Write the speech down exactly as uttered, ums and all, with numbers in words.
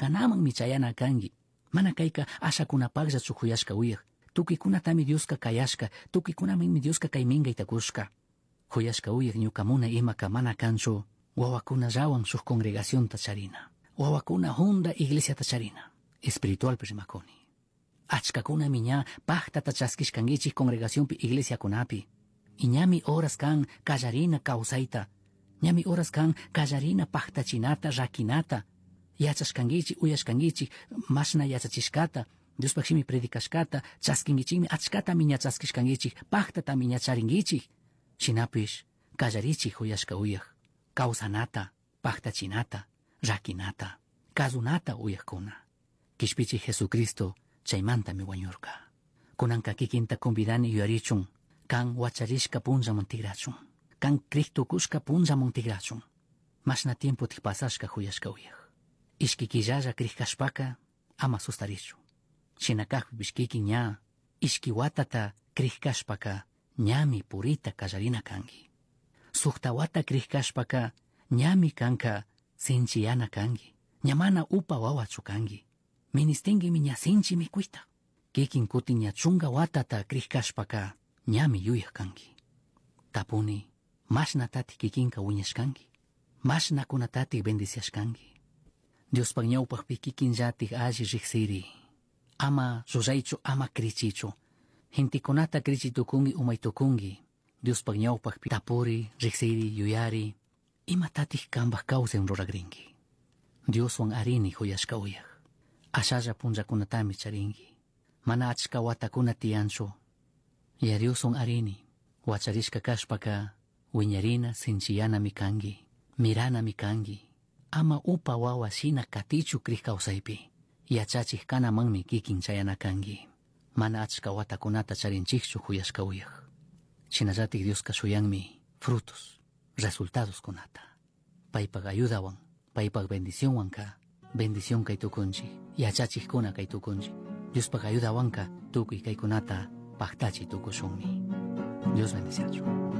Yachachij chayana kanki. Mana kayka ashakunapaqllachu huyashka uyaq. Tukuykunatami Dioska kayashka, tukuykunamanmi Dioska kay minkayta kushka. Huyashka uyaq ñuka munay imaka mana kanchu wawakunallawan shuk congregacionta charina. Wawakuna hunda iglesiata charina. Espiritualpi rimakuni. Achkakunami ña pajtata chaskishkankichik congregacionpi iglesiakunapi. Y ñami horas kan kallarina kawsayta. Ñami horas kan kallarina pajtachinata, rakinata. Yachashkankichik, uyashkankichik, mashna yachachishkata, Diospaq shimi predicashkata, chaskinkichikmi achkatami ña chaskishkankichik, pajtatami ña charinkichik. Shinapish kallarichik huyashka uyaq, kawsanata, pajtachinata, rakinata, kazunata uyaqkuna. Kishpichik Jesucristo chaymantami wañurka. Kunanka kikinta convidani yuyarichun, kan wacharishka punllaman tigrachun, kan crij tukushka punllaman tigrachun. Mashna tiempo pasashka huyashka uyaq. Ishki killalla crij kashpaka ama sustarichu. Shina kajpipish kikin ña ishki watata crij kashpaka ñami purita kallarina kanki. Sukta wata crij kashpaka ñami kanka sinchiyana kanki. Ña mana upa wawachu kanki. Ministinguimi ña sinchi mikuyta. Kikin kutin ña chunka watata crij kashpaka ñami yuyaq kanki. Tapuni, mashnatatik kikinka wiñashkanki. Mashnakunatatik bendiciashkanki. Diospaq ñawpaqpi kikinllatik alli riqsiri. Ama ruraychu, ama krichichu. Gentekunata krichi tukunki, umay tukunki. Diospaq ñawpaqpi tapuri, riqsiri, yuyari. Imatatik kanpaq kawsay ruragrinki. Dioswan arini huyashka uyaq. Ashalla punllakunatami charinki. Mana achka watakuna tiyanchu. Ya Dioswan arini. Wacharishka kashpaka wiñarina sinchiyanami kanki. Miranami kanki. Ama upa wawa shina katichu krij kawsaypi. Yachachik kanamanmi kikin chayana kanki. Mana achka watakunata charinchikchu huyashka uyaq. Shinallatik Dioska shuyanmi frutos, resultados kunata. Paypak ayudawan, paypak bendicionwanka, bendición kay tukunchik, yachachikkuna kay tukunchik. Diospaq ayudawanka tukuy kaykunata paktachi tukushunmi. Dios bendiciachu.